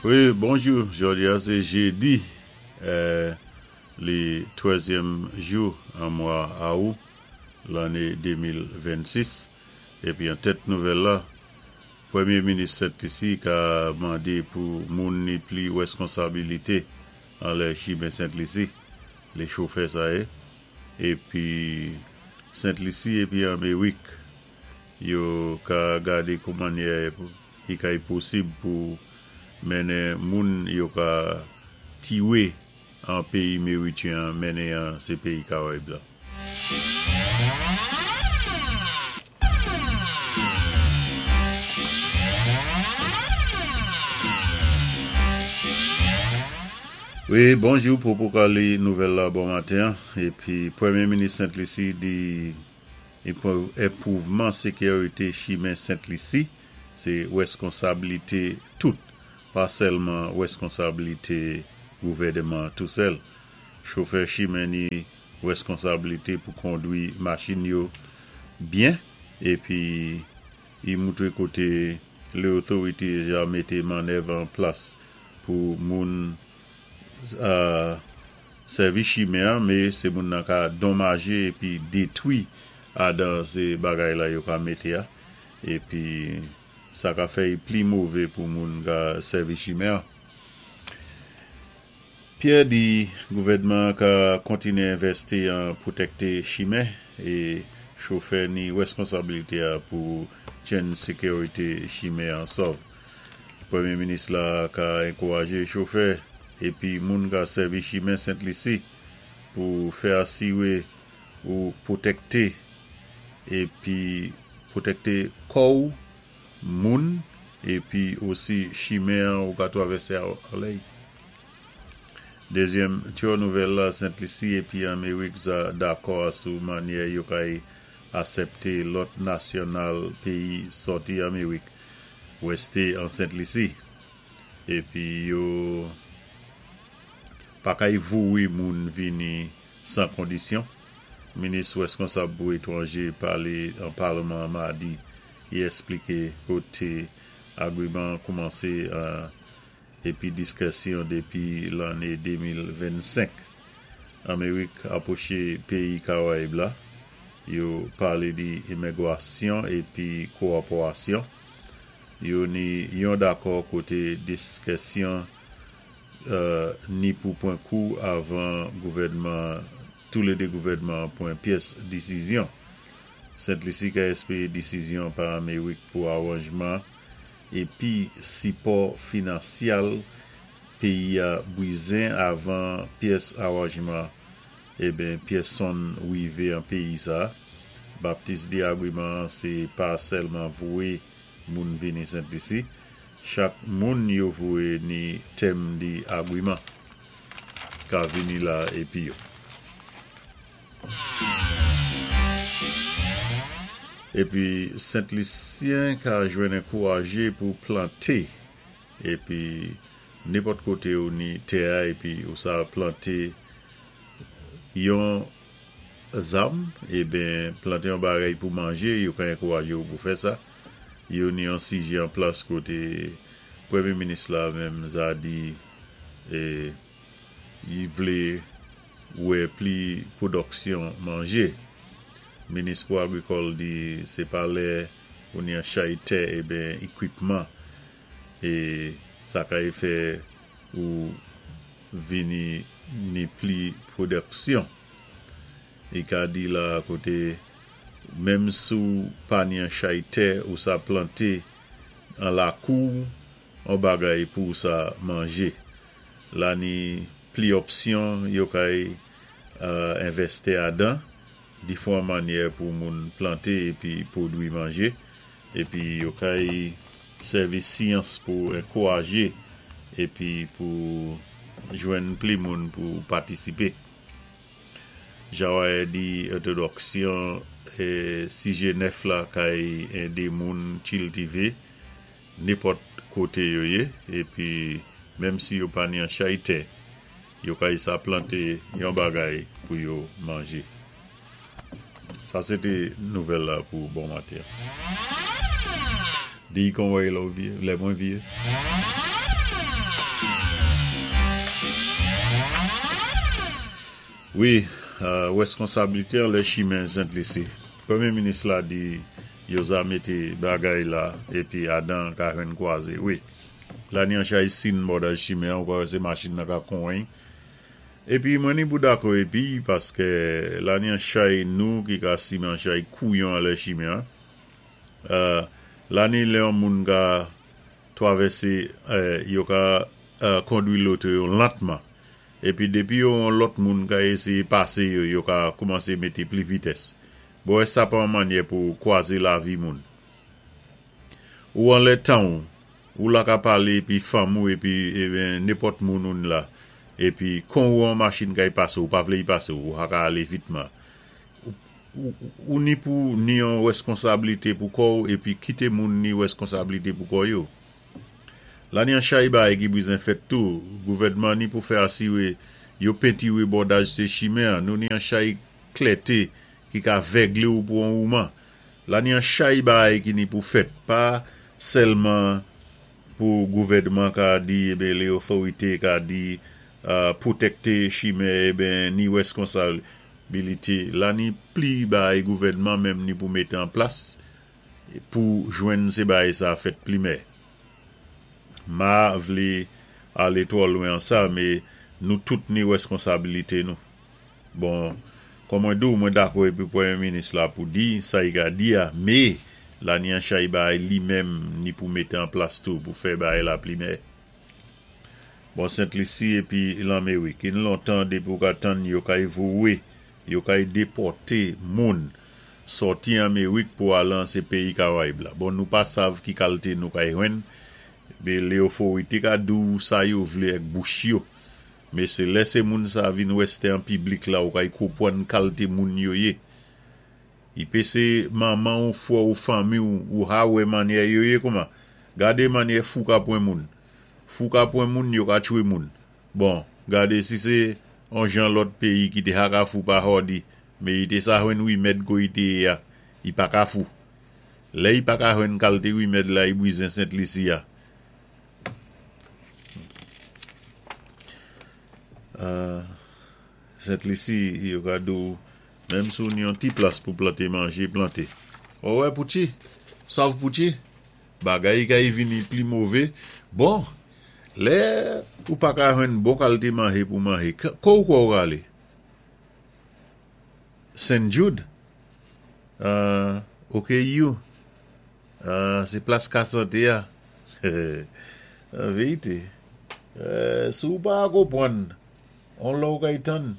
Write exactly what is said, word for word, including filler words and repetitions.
Wi, bonjou, jòdi-a sé jédi, euh, li twèzyèm jou an mwa awou, lanné de mil vennsis, épi an tèt nouvèl la, Pwémyé Minis Sent Lisi ka mandé pou moun ni pli wèskonsabilité anlè chimen Sent Lisi, lé chofè sa yé, épi Sent Lisi épi Amerik, yo ka gadé kou mannyè i kay posib pou mennen moun yo ka tiwé an péyi Merityen mennen an sé péyi Karayib la. Wi, bonjou pou pou ka li nouvèl la bon maten. Épi, Pwémyé Minis Sent Lisi di enpwouvman sékirité chimen Sent Lisi, sé wèskonsabilité tout, pa sèlman wèskonsabilité gouvèdman tou sèl. Chofè chimen ni wèskonsabilité pou kondwi machin yo byen, épi i moutré koté lé otorité ja mété mannèv an plas pou moun euh, sèvi chimen, mé sé moun nan ka donmajé épi détwi adan sé bagay la yo ka mété a, épi sa ka fè pli mové pou moun ka sèvi chimen. Pierre di gouvèdman ka kontiné envèsti an pwotèkté chimen é chofè ni wèskonsabilité a pou tjenn sékirité chimen an sòv. Pwémyé Minis la ka ankourajé chofè épi moun ka sèvi chimen Sent Lisi pou fè asiwé ou pwotèkté épi pwotèkté kò moun épi osi chimen ou ka twavèsé anlè. Dézyèm tyò nouvèl la, Sent Lisi épi Amerik za dakò sou mannyè yo kay asèpté lòt nasyonal péyi sòti Amerik wèsté an Sent Lisi. Épi yo pa kay vouwé moun vini san kondisyon. Minis wèskonsab pou étwanjé palé an palman madi i èspliké koté agwiman koumansé épi diskisyon dépi lanné de mil vennsenk. Amerik apwoché péyi Karayib la, yo palé di imigwasyon épi kowopérasyon. Yo ni yon dakò koté diskisyon euh, ni pou pwan kou avan gouvèdman, tou lé dé gouvèdman pwan pyès désizyon. Sent Lisi ka èspéré désizyon pa Amerik pou awanjman épi sipò finansyal péyi a bizwen avan pyès awanjman eben pyès sonn wivé an péyi sa. Baptiste di agwiman sé pa sèlman vouwé moun vini Sent Lisi. Chak moun yo vouwé ni tèm di agwiman ka vini la épi yo. Épi Sent Lisyen ka jwenn ankourajé pou planté épi nenpòt koté ou ni tè épi ou sa planté yon zam eben planté yon bagay pou manjé, yo ka ankourajé ou pou fè sa. Yo ni yon sijé an plas koté Pwémyé Minis la menm za di é i vlé wè pli pwodiksyon manjé. Minis pou agrikòl di sé pa lè ou ni an chay tè eben ékwipman é sa kay fè ou vini ni pli pwodiksyon. I ka di la koté menm sou pa ni an chay tè ou sa planté an lakou an bagay pou sa manjé. La ni pli opsyon yo kay euh, envèsti adan difwan mannyè pou moun planté épi pwodwi manjé épi yo kay sèvi syans pou ankourajé épi pou jwenn pli moun pou patisipé. Jawaye di entwodiksyon é sijé nèf la kay édé moun kiltivé nenpòt koté yo yé épi menm si yo pa ni an chay tè, yo kay sa planté yon bagay pou yo manjé. Sa sé té nouvèl la pou bon maten. Di kon wè lè mwen vyé. Wi, wèskonsabilité an lè chimen Sent Lisi. Pwémyé minis la di yo za mété bagay la épi adan ka jwenn kwazé. Wi, la ni an chay sin bòdaj chimen an, ou ka wè sé machin nan ka konwen. Épi mwen ni pou dakò épi, paské la ni an chay nou ki ka simen an chay kouyon an lè chimen an. La ni lè an moun ka twavèsé, yo ka kondwi loto yo lantman. Épi dépi yo an lòt moun ka éséyé pasé yo, yo ka koumansé mété pli vitès. Bon, sa pa an mannyè pou kwazé lavi moun. Ou an lè tan ou, ou la ka palé épi fanm ou épi nenpòt moun ou la. Épi kon ou an machin ka y pasé ou pa vlé y pasé ou, ou ka alé vitman. Ou ni pou ni an wèskonsabilité pou kò ou épi kité moun ni wèskonsabilité pou kò yo. La ni an chay bagay ki bizen fèt tou, gouvèdman ni pou fè asiwé yo pentiwé bòdaj sé chimen, nou ni an chay klèté ki ka vèglé ou pou an ouman. La ni an chay bagay ki ni pou fèt, pa sèlman pou gouvèdman ka di, ében lé otorité ka di pwotèkté chimen, ében ni wèskonsabilité. La ni pli bagay gouvèdman menm ni pou mété an plas pou jwenn sé bagay sa fèt pli mè. Ma vlé alé twò lwen an sa, mé nou tout ni wèskonsabilité nou. Bon, kon mwen di ou, mwen dakò épi pwémyé minis la pou di, sa i ka di a, mé la ni an chay bagay li menm ni pou mété an plas tou pou fè bagay la pli mè. Bon, Sent Lisi épi Lanmérik, in lontan dépi ou ka tann yo kay vouwé, yo kay dépòté moun sòti Anmérik pou alan sé péyi Karayib la. Bon, nou pa sav ki kalité nou kay jwenn, mé lé otorité ka di ou sa yo vlé ak bouch yo. Mé sé lè sé moun sa vin wèsté an piblik la ou kay konpwann kalité moun yo yé. I pé sé manman ou fwè ou fanmi ou, ou ha wè mannyè yo yé kouman. Gadé mannyè fou ka pwan moun. Fou ka pwan moun, yo ka tchwé moun. Bon, gadé si sé an jan lòt péyi ki té ha ka fou pa hòdi, mé i té sa jwenn wimèd ko i té ya, i pa ka fou. Lè i pa ka jwenn kalité wimèd la, i bwizen Sent Lisi ya. Sent Lisi, yo ka di ou, menm si ou ni yon ti plas pou planté manjé, planté. Ou wè Pouchi? Sav Pouchi? Bagay kay vini pli mové. Bon, lè ou pa ka jwenn bon kalité manjé pou manjé, ko ou kwa ou alé? Saint Jude? Uh, O K U? Uh, sé plas ka santé ya. An vérité. Uh, si ou pa konpwann, on lò ou kay tann.